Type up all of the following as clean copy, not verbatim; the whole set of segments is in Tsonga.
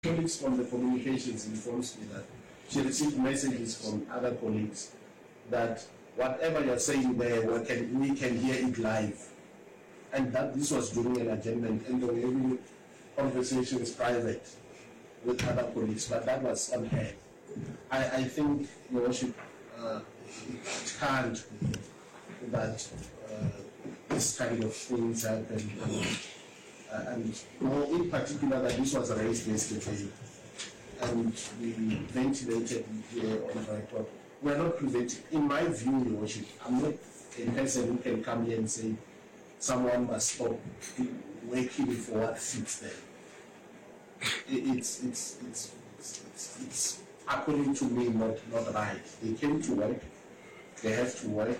Colleagues from the communications informs me that she received messages from other colleagues that whatever you're saying there, we can hear it live. And that this was during an adjournment, and they were having conversations private with other colleagues, but that was on her. I, I think, Your Worship, it can't be that this kind of things happen. And more in particular that this was raised yesterday and we ventilated it here on record. We are not preventing, in my view, Your Worship, I'm not a person who can come here and say someone must stop working for what suits them. It's according to me not right. They came to work, they have to work,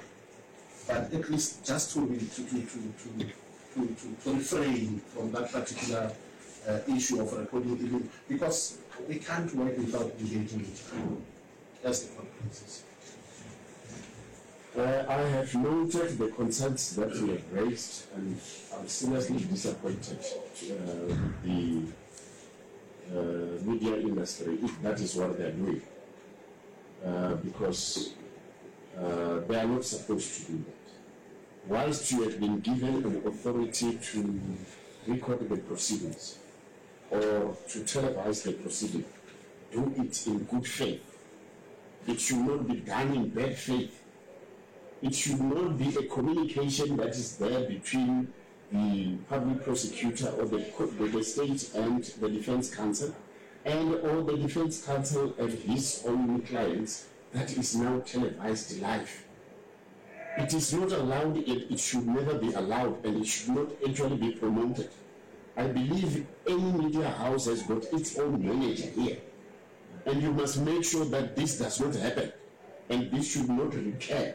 but at least just to to to to to, to, to refrain from that particular issue of recording, even because we can't work without engaging each other. That's the conferences. I have noted the concerns that you have raised, and I'm seriously disappointed with the media industry if that is what they're doing, because they are not supposed to do that. Whilst you have been given an authority to record the proceedings or to televise the proceeding, do it in good faith. It should not be done in bad faith. It should not be a communication that is there between the public prosecutor or the state and the defense counsel, and or the defense counsel and his own clients that is now televised live. It is not allowed, it should never be allowed, and it should not actually be promoted. I believe any media house has got its own manager here, and you must make sure that this does not happen, and this should not recur.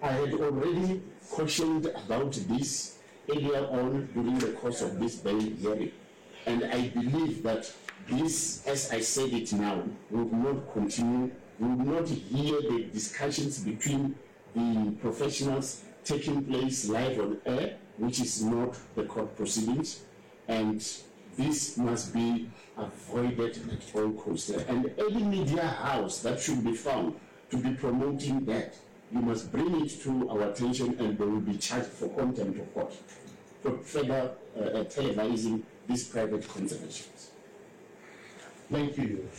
I had already cautioned about this earlier on during the course of this bail hearing, and I believe that this, as I said it now, would not continue. We will not hear the discussions between the professionals taking place live on air, which is not the court proceedings, and this must be avoided at all costs. And any media house that should be found to be promoting that, you must bring it to our attention, and they will be charged for contempt of court for further televising these private conversations. Thank you.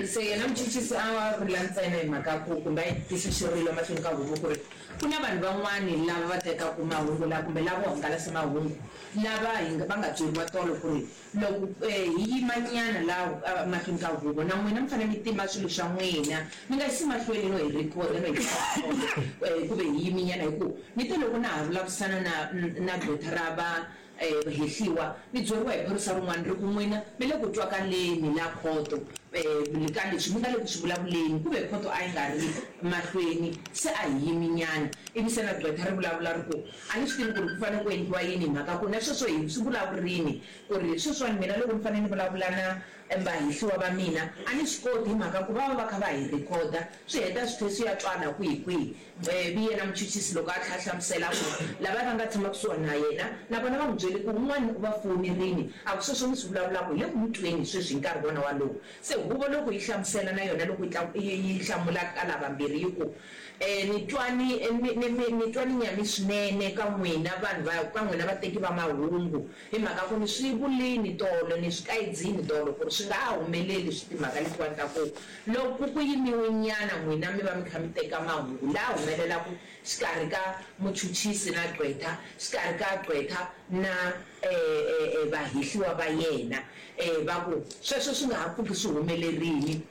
Se yena muchuchisi a vula ntsena hi mhaka ku kumbe a yi tisa xirilo emahlweni ka huvo ku ri ku na vanhu van'wani lava va tekaka mahungu lawa kumbe lavo hangalasa mahungu lava hi va nga byeriwa tolo ku ri loko hi yima nyana laha emahlweni ka huvo na n'wina mi fanele mi tima swilo swa n'wina mi nga yisi mahlweni no hi rhikhoda no hi rhikhoda ku ve hi yimi nyana hi ku ni te loko na ha vulavurisana na na gqwetha ra va hehliwa, mi byeriwa hi phorisa rin'wana ri ku, N'wina mi le ku twakaleni la khoto ka leswi mi nga le ku swi vulavuleni. Ku ve khoto a yi nga ri mahlweni, se a hi yiminyana. Ivi se na gqwetha ri vulavula ri ku, A ni swi tivi ku ri ku fanele ku endliwa yini hi mhaka ku na sweswo hi swi vulavurini ku ri sweswiwani mina loko ni fanele ni vulavula na vahehliwa va mina a ni swi koti hi mhaka ku va va va kha va hi rhikhoda swi heta swi tlhe swi ya twala kwihi kwihi. Ivi yena muchuchisi loko a tlhela a hlamusela a ku, Lavaya va nga tshama kusuhani na yena, na vona va n'wi byele ku un'wana u va fowunerile, a ku, Sweswo mi swi vulavulaka hi le ku mi tweni sweswi hi nkarhi wona walowo. Se huvo loko yi hlamusela na yona loko yi yi hlamula ka lavambirhi yi ku, Ni twa ni, ni, ni, ni twa ni nyame swinene ka n'wina vanhu va, ka n'wina vateki va mahungu, hi mhaka ku ni swi vulini tolo, ni swi kayidzini tolo ku ri swi nga ha humeleli swi timhaka letiwani ta ku Loko ku yimiwe nyana n'wina mi va mi kha mi teka mahungu la humelelaku xikarhi ka muchuchisi na gqwetha, xikarhi ka gqwetha na vahehliwa va yena, va ku sweswo swi nga ha pfuki swi humelerini,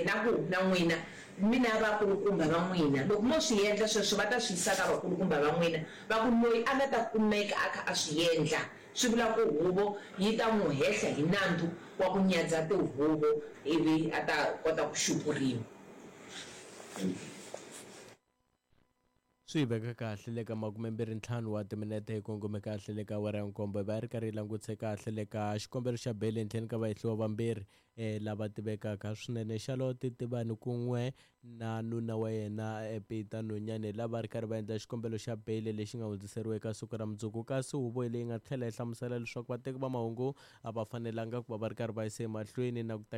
na ku na n'wina mi na vakulukumba va n'wina, loko mo swi endla sweswo va ta swi yisa ka vakulukumba va n'wina, va ku loyi a nga ta kumeka a kha a swi endla. Swi vula ku huvo yi ta n'wi hehla hi nandzu wa ku nyadza tihuvo ivi a ta kota ku xupuriwa. Swi hi veka kahle le ka makumembirhi-ntlhanu wa timinete hi kongome kahle le ka awara ya nkombo hi va hi ri karhi hi langutise kahle le ka xikombelo xa beyili ehenhleni ka vahehliwa vambirhi lava tivekaka swinene Charlotte Tibani kun'we na nuna wa yena Peter Nonyane lava ri karhi va endla xikombelo xa beyili lexi nga hundziseriwa eka siku ra mundzuku kasi huvo leyi nga tlhela yi hlamusela leswaku vateki va mahungu a va fanelanga ku va va ri karhi va yisa emahlweni na ku teka.